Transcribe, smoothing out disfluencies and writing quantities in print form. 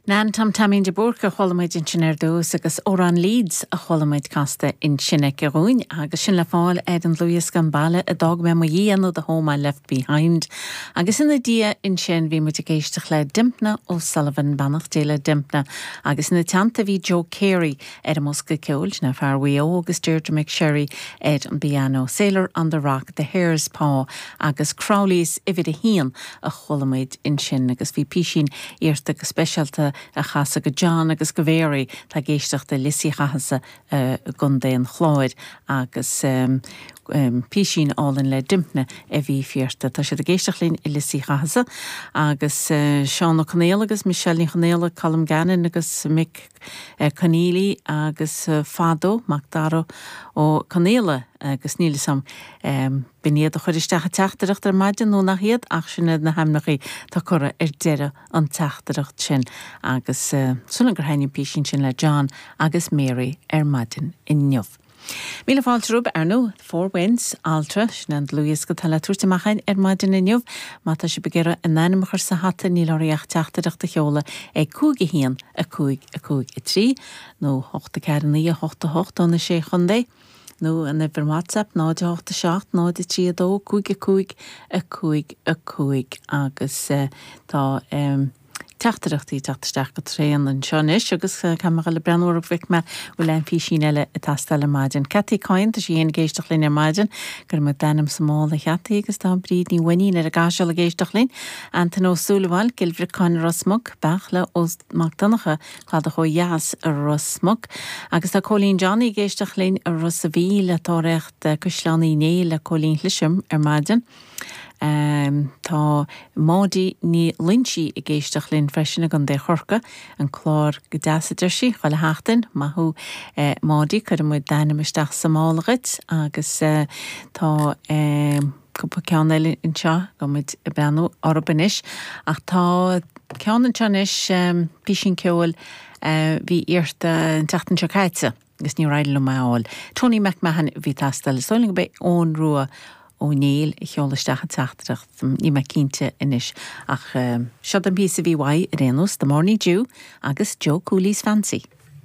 Nan Tom Taimín de Búrca a chuala muid ansin ar dtús agus Amhrán Leeds a chuala muid casta ansin aici dhúinn agus sin le fáil ar an dlúthdhiosca An Baile a d'Fhág Mé Mo Dhiaidh nó The Home I Left Behind. Agus ina diaidh ansin bhí muid ag éisteacht le Dympna O'Sullivan, beannacht Dé le Dympna, agus ina teannta bhí Joe Carey ar an mbosca ceoil, sin é fear Mhaigh Eo agus Deirdre McSherry ar an bpianó, Sailor on the Rock, The Hare's Paw agus Crowley's Uimhir a hAon a chuala muid ansin agus bhí písín iarrta go speisialta a chasadh go John agus go Mary atá ag éisteacht i Lios Uí Chathasaigh i gContae an Chláir agus písín álainn le Dympna a bhí iarrta. Tá siad ag éisteacht linn i Lios Uí Chathasaigh agus Seán Ó Conaola agus Michelle Ní Chonaola, Colm Gannon agus Mick Conneely agus Fado Mac Dara Ó Conaola agus níl 'fhios a'm B'in iad a chuir isteach an teachtaireacht ar maidin nó nach iad ach sin iad na hainmneacha atá curtha ar deireadh an teachtaireacht sin agus súil agam gur thaitin an písín sin le John agus Mary ar maidin inniu. Míle fáilte romhaibh, ar ndóigh, Four Winds, Altra, sin é an dlúthdhiosca atá le tabhairt amach againn ar maidin inniu. Má tá sibh ag iarraidh a n-ainm a chur sa hata níl oraibh ach teachtaireacht a sheoladh ag 5 1 5 5 3 nó 8 4 9 8 8 ó na Sé Chontae. nó an uimhir WhatsApp 0 8 7 0 3 2 5 5 5 5 agus tá teachtaireachtaí ag teacht isteach go tréan anseo anois agus caithfidh mé dhul ag breathnú orthu bhfeicfidh mé bhfuil aon phísín eile ag teastáil ar maidin. Cathy Coyne, tá sí féin ag éisteacht linn ar maidin. Cuirfidh muid d'ainm sa mála a Chathy agus tá Bríd Ní Mhainnín ar an gCaiseal ag éisteacht linn. Antain Ó Súilleabháin, Cill Bhriocáin i Ros Muc, Beartla Ó Mac Donncha, Cladach ó dheas i Ros Muc. Agus tá Cóilín Johnny ag éisteacht linn i Ros a' Mhíl, ag tóraíocht Caisleán Uí Néill le Cóilín Shlisem ar maidin. Tá Maudie Ní Loinsigh ag éisteacht linn freisin i gContae Chorcaí. An clár go deas a deir sí, chuile sheachtain. Maith thú Maudie, cuirfidh muid d'ainm isteach sa mála dhuit agus tá. Cúpla ceann eile anseo, gabhfaidh muid ag breathnú orthu anois. Ach tá ceann anseo anois, písín ceoil a bhí iarrta an tseachtain seo caite agus níor éirigh liom é a fháil. Tony McMahon a bhí ag teastáil. Is dóigh liom gurb é Eoin Rua Ó Néill a sheol isteach an teachtaireacht, níl mé cinnte anois. Ach seo an píosa a bhí uaidh ar aon nós, The Morning Dew agus Joe Cooley's Fancy.